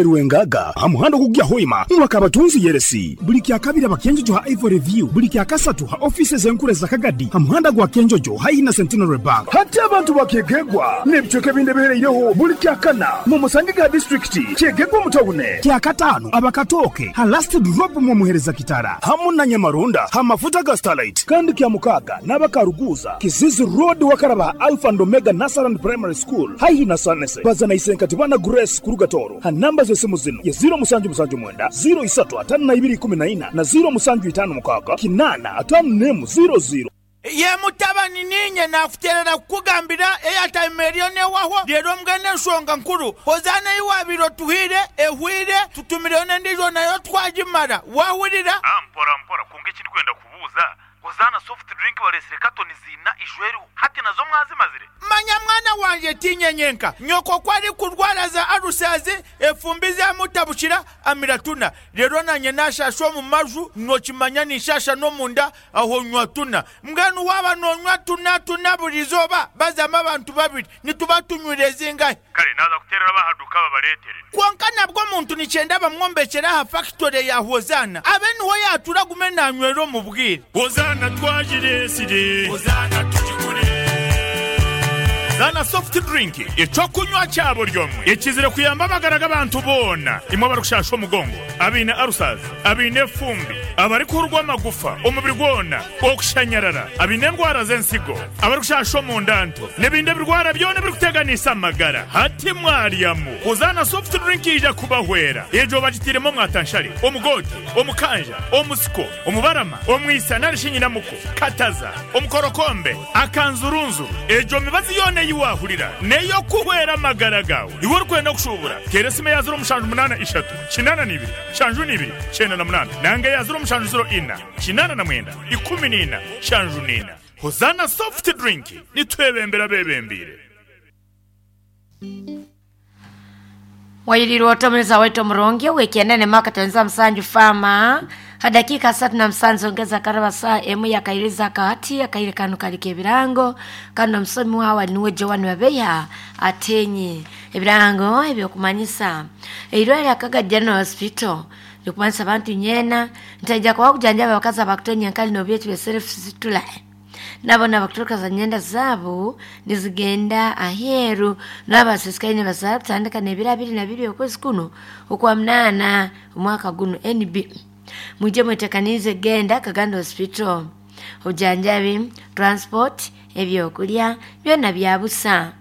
Rwengaga ha muhanda ogukugya Hoima mwaka Abatunzi Yeresi. Buli kyakabiri Abakenjojo ha Ivory View, buli kyakasatu ha offices enkuru eza Kagadi ha muhanda gwa Kenjojo haihi na Centenary Bank. Hati abantu ba Kyegegwa n'ebicweka ebindi ebihereireho buli kyakana mumusange ha disitulikiti Kyegegwa omu tawune. Kyakataano Abakatooke ha Last Drop mwomuhereza Kitara hamu na Nyamarunda ha mafuta ga Starlight kandi Kyamukaaga n'Abakaruguuza Kizizi Road wakaraba ha Alpha and Omega Nursery and Primary School haihi na Sanese. Baza na Isenkatibana Grace kuruga Tooro ha namba z'esimu zinu ye 0779 03 52 14 na 0756 8 51 00. Ye mutabani, niinye naakuteerera kukugambira eyataime eriyo n'ewahwo. Reero mbwenu enshonga nkuru, Hozaana ei waabaire otuhaire ehweire, tutumireyo n'endiijo nayo twagimara. Waahurira? Mpora mpora, kwonka eki ndikwenda kubuuza, Hozaana soft drink bareetsire katoni ziina ijo eriho, hati nazo mwazimazire? Manya mwana wangye tiinye nyenka. Nyoko ku arikurwara za alusazi, efumbi zamutabukira, amira tuna. Reero naanye naashaasha omu maju, nookimanya ninshaasha n'omunda, aho nywa tuna. Mbwenu waaba noonywa tuna tuna buri izooba, bazamu abantu babiri, nituba tunywire zingahi? Kare naaza kuteerera ab'aha duuka babareetere. Kwonka nabwo omuntu nikyenda bamwombekyere aha fakitore ya Hozaana abe niho yaatuura agume naanywera omu bwire. Hozaana twagireetsire. Hozaana tugigure. Zaana soft drink, eky'okunywa kya buri omwe ekizire kuyamba amagara g'abantu boona, imwe abarikushasha omugongo, abaine ulcers, abaine efumbi, abarikuhurwa amagufa omubiri gwona, okushanyarara, abaine endwara z'ensigo, abarikushasha omunda nto, n'ebindi ebirwara byona ebirikuteganisa amagara. Hati mwaryamu Hozaana soft drink eija kubahwera. Egyo bagitairemu omwatanshare, omugoote, omukanja, omusiko, omubarama, omwisa nari shi nyinamuko, kataza, omukorokombe, akanzurunzuru. Egyo mibazi yoona ei waahurira n'ey'okuhwera amagara gaawe. Iwe orikwenda kushuubura, teera esimu eya ziro mushanju munaana ishatu, kinaana na ibiri, nshanju na ibiri, kyenda na munaana nanga eya ziro mushanju ziro ina, 89, 14, 74. Hozaana Soft Drink, nitwebembera abeebembeire. Wayirirwe otomereza waitu omurungi wikienene maka tenza msanju fama hadakika asatu na msanzu ongeza karaba saa emu yakairiza akahati akaire kano kalika ebirango kano omusomi wawe niwe Joan Wabeya atenye ebirango ebyokumanyisa eirwaliro Akaga General Hospital likumanyisa abantu nyena ntaija kuba kujanjaba abakazi abakutonya enkali nobyekyo bya self situla nabo nabakuturuka za nyenda zaabo nizigenda aheeru n'abasisikaire nibazaara kutandika n'ebiro abiri na bibiri okwezi kuno okwa munaana omwaka guno NB mwije mwetekaniize genda Kagando Hospital obujanjabi transport ebyokulya byona bya busa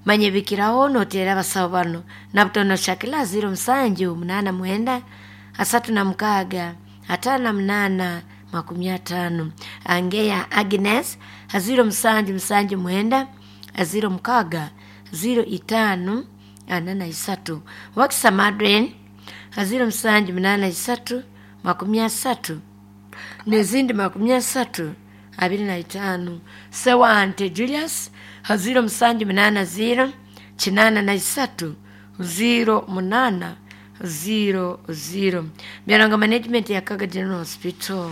manya ebikiraho noteera abasawo bano nabutono Shakila 07 89 36 58 50 Angeya Agnes 0779 06 05 43 Wakisa Madren 0783 30 n'ezindi 30 25 Sewante Julius 0780 83 08 00 Byarango Management ya Kaga General Hospital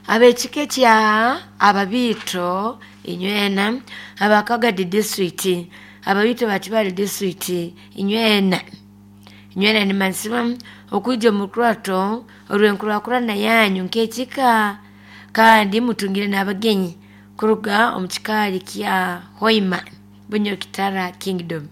ab'ekika ekya Ababiito inywena aba Kagadi District Ababiito ba Kibaale District inywena inywena nimazima okwija omu rukurato orw'enkurakurana yanyu nk'ekika kandi mutungire n'abagenyi kuruga omu kikaari kya Hoima Bunyoro Kitara Kingdom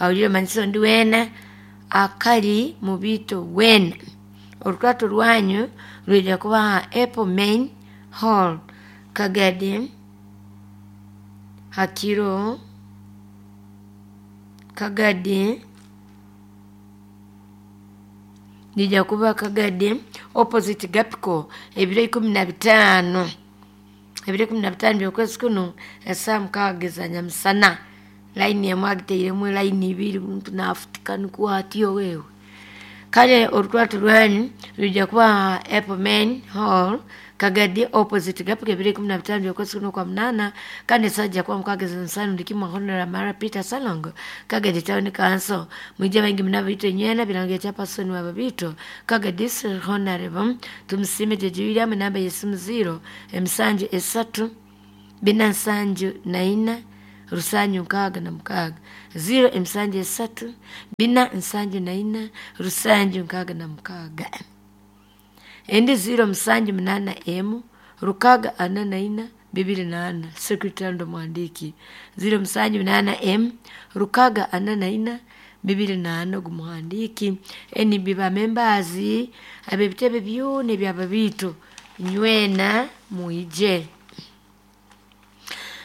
ahurire omanyise ondi weena akari mubiito weena orukurato rwanyu rwija kuba aha Apple Main Hall Kagadi hakiro Kagadi nija kuba Kagadi opposite Gapco ebiro 15 ebiro 15 by'okwezi kuno esaaha mukaaga eza nyamusana layini emwe agitairemu layini ibiri omuntu nafutika nikwo atyo wewe kale orukurato rwanyu rwija kuba aha Apple Main Hall Kagadi opposite Gapco ebiro 15 by'okwezi kuno kwa munaana kandi esaaha ija kuba mukaaga eza nyamusana ndikimwa Honorable Mara Peter Salongo Kagadi Town Council mwije baingi muno ababiito inywena birango ekya Person wa Babiito Kagadi District Honorable Tumusiime Jeje William namba y'esimu 0 emisanju esatu bina nsanju na ina 766 0 emisanju 3 4 74 766 endi 0 7 8 6 44 24 sekretari ndo mwandiki 0 7 8 m 6 44 24 gumuhandiki NB bamembazi ab'ebitebe byona ebyababiito nywena mwije.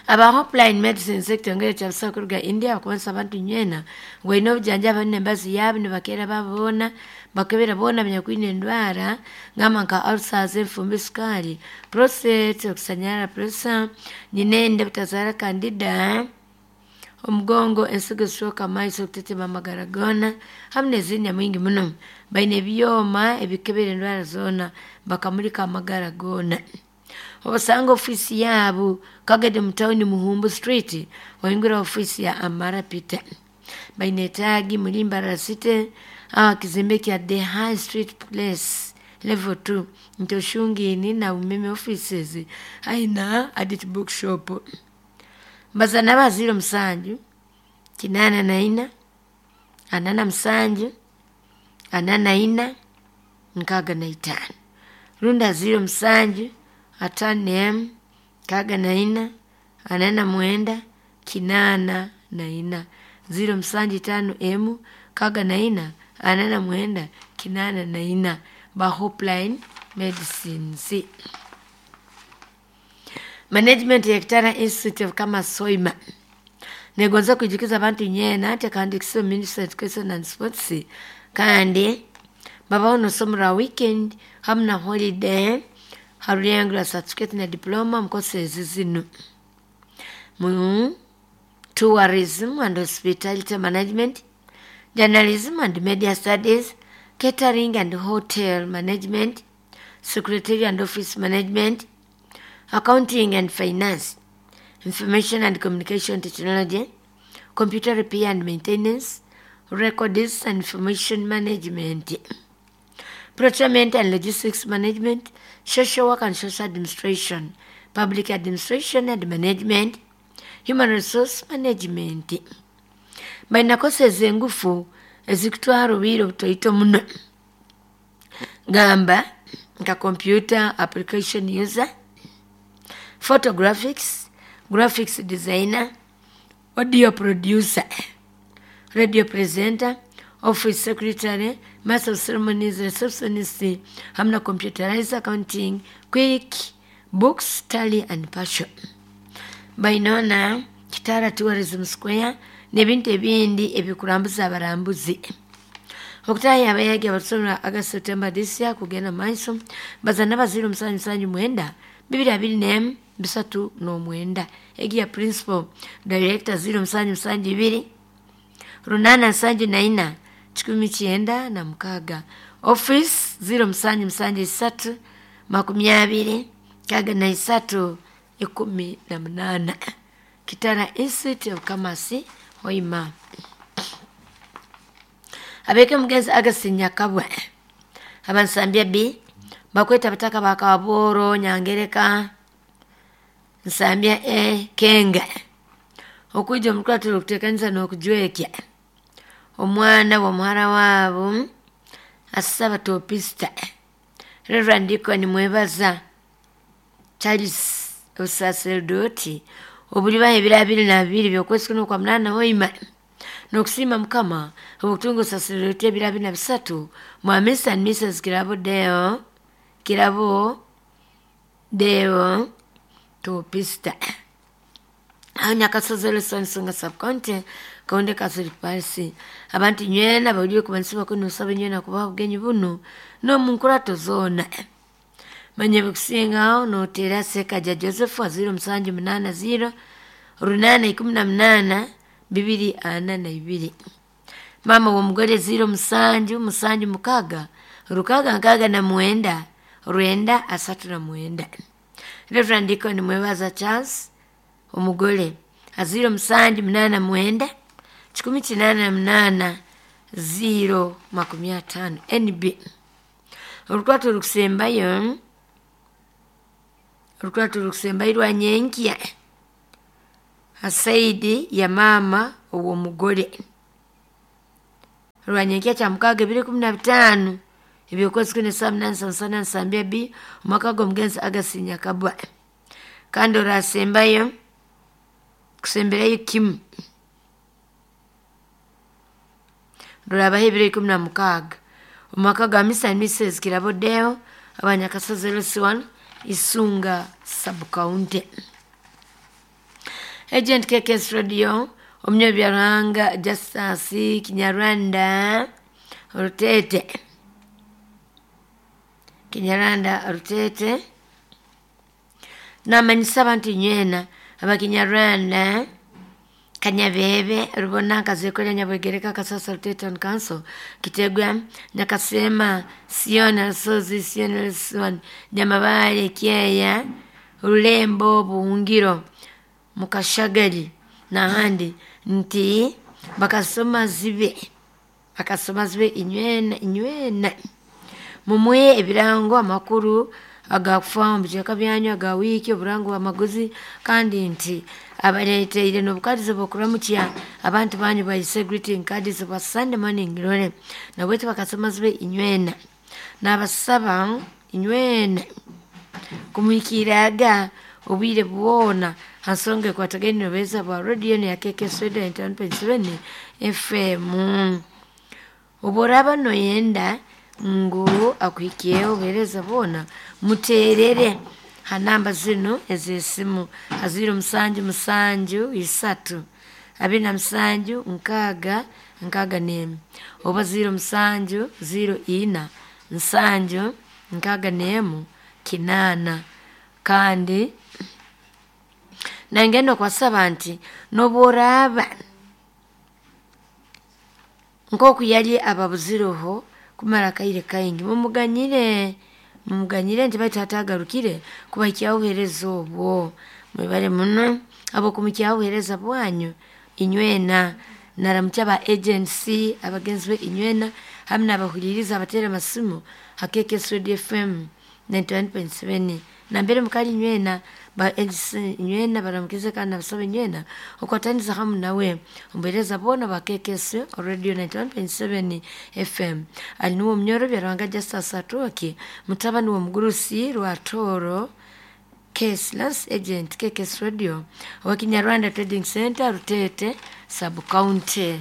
Aba Hopline Medicine Sector ngere kya kuruga India bakubanisa abantu nywena ngwaine obujanjaba n'embazi yaabo nibakeera babona bakebera boona abanyakwine endwara ngamba nka ulcers, enfumbi, sukari, prostate, okusanyara pressure, nyinende butazaara candida, omugongo, ensigo zishoka amaiso, okutetema amagara goona hamu n'ezindi nyamwingi muno. Baine ebyoma ebikebera endwara zoona bakamulika amagara goona. Obasanga ofiisi yaabo Kagadi mu tawuni Muhumbu Street oyingira ofiisi ya Amara Peter. Baine etaagi muri Mbarara City aha kizimbe kya The High Street Place level 2 ntoshungini na umeme offices aina Adit Bookshop. Mbazana ba 07 84 47 44 65 runda 07 5 64 49 84 0 7 5 M 64 49 84 ba Hopline Medicines. Management ya Kitara Institute of Commerce Soima negonza kujukiza abantu nyena ate kandi kiso Ministry of Education and Sports kandi babaho nosomera weekend hamu na holiday haruyangura certificate na diploma mukose zino mu tourism and hospitality management, journalism and media studies, catering and hotel management, secretary and office management, accounting and finance, information and communication technology, computer repair and maintenance, records and information management, procurement and logistics management, social work and social administration, public administration and management, human resource management. Baina courses engufu ezikutwara obwire obutoito muno gamba nka computer application user, photographics, graphics designer, audio producer, radio presenter, office secretary, master of ceremonies, receptionist, hamna computerized accounting, quick books, tally and passion. Bainona Kitara Tourism Square n'ebintu ebindi ebikurambuza abarambuzi. Okutaya abayagi abasomera August September this year kugenda maiso bazana baziro 779 224 39 egi ya principal director 0772 874 96 office 0773 20 63 18 Kitara Institute of Commerce Hoima. Abeke mugenzi Augustine Nyakabwe abansambya B bakweta bataka bakaboro Nyangereka Nsambya E Kenga okuja omukwatiro okutekanisa n'okujwekya omwana w'omuhara waabo asaba topista Reverend Deacon Mwebaza Charles osaseldoti obuliba ebiro 22 by'okwezi kuno kwa 8 Hoima n'okusiima Mukama obutunga osaseldoti ebiro 23 mwa Mr and Mrs Kirabo Deo Topista aho Nyakasozi Nsonga subcounty Kaonde Catholic Parish abantu nywena bawulire kubanisa kuno nsaba nywena kubaha obugenyi buno n'omu nkurato zoona manye bikusingaho noteera Sekaja Joseph 0780 818 242 mama w'omugore 0776 669 939 Reverend Deacon Mwebaza Charles omugole 0789 188 050 NB. Olukwato olukusembayo lwa nyenkya Saidi ya mama ow'omugore rwanyenkya kya mukaaga 2015 ebyokwezi kune saa 8 sansana nsambya b omwaka gw'omugenzi Agasi Nyakabwa. Kandi orasembayo kusemberayo kimu rurabaho 2016 omwaka gwa Mr and Mrs Kirabo Deo abanyakasozi LC1 Isunga sub-county. Agent KKS Radio omunyabyaruhanga Justus Kinyarwanda Rutete, Kinyarwanda Rutete namanyisa abantu inywena abakinyarwanda Kanyabebe Rubona Kazekolya Nyabwegereka Kasasa Rutete Town Council Kitegwa Nyakasema Siona Rusozi Siona Rusiwani Nyamabale Kyeya Rulembo Buhungiro Mukashagali n'ahandi nti bakasoma zibe inywena inywena mumuhe ebirango amakuru agakufa omu bicweka byanyu aga wiiki oburango bw'amaguzi kandi nti abaleeteire n'obukadizi bw'okuramukya abantu banyu bayise greeting cards bwa Sunday morning glory nabwetu bakasoma zibe inywena nabasaba inywena kumuhikiraga obwire bwona hansonga ekwatagaine nobeeza bwa radio ya KKS Radio 91.7 FM. Oboraba noyenda ngu akuhikiyeho obuheereza bwona muteerere ha namba zinu ez'esimu ha 07 7 3 27 6 61 oba 07 04 7 61 8. Kandi nangenda okwasaba nti n'obworaaba nk'oku yali ababuzireho kumara akaire kaingi mumuganyire nti baitu hatagarukire kubahikyaho obuheereza obwo. Mwebale muno ab'okumukyaho obuheereza bwanyu inywena naramukya ba agency abagenzi be inywena hamwe n'abahuliriza abateera amasimu ha KKS Radio FM 91.7 nambere mukali inywena ba agency inywena baramukize kandi nabasaba inywena okwataniza hamu nawe omuheereza boona ba KKS Radio 91.7 FM. Ali niwe omunyoro Byarwanga Justus Atwoki mutabani w'omugurusi Rwatooro Case Lance Agent KKS Radio owa Kinyarwanda Trading Center Rutete sub-county.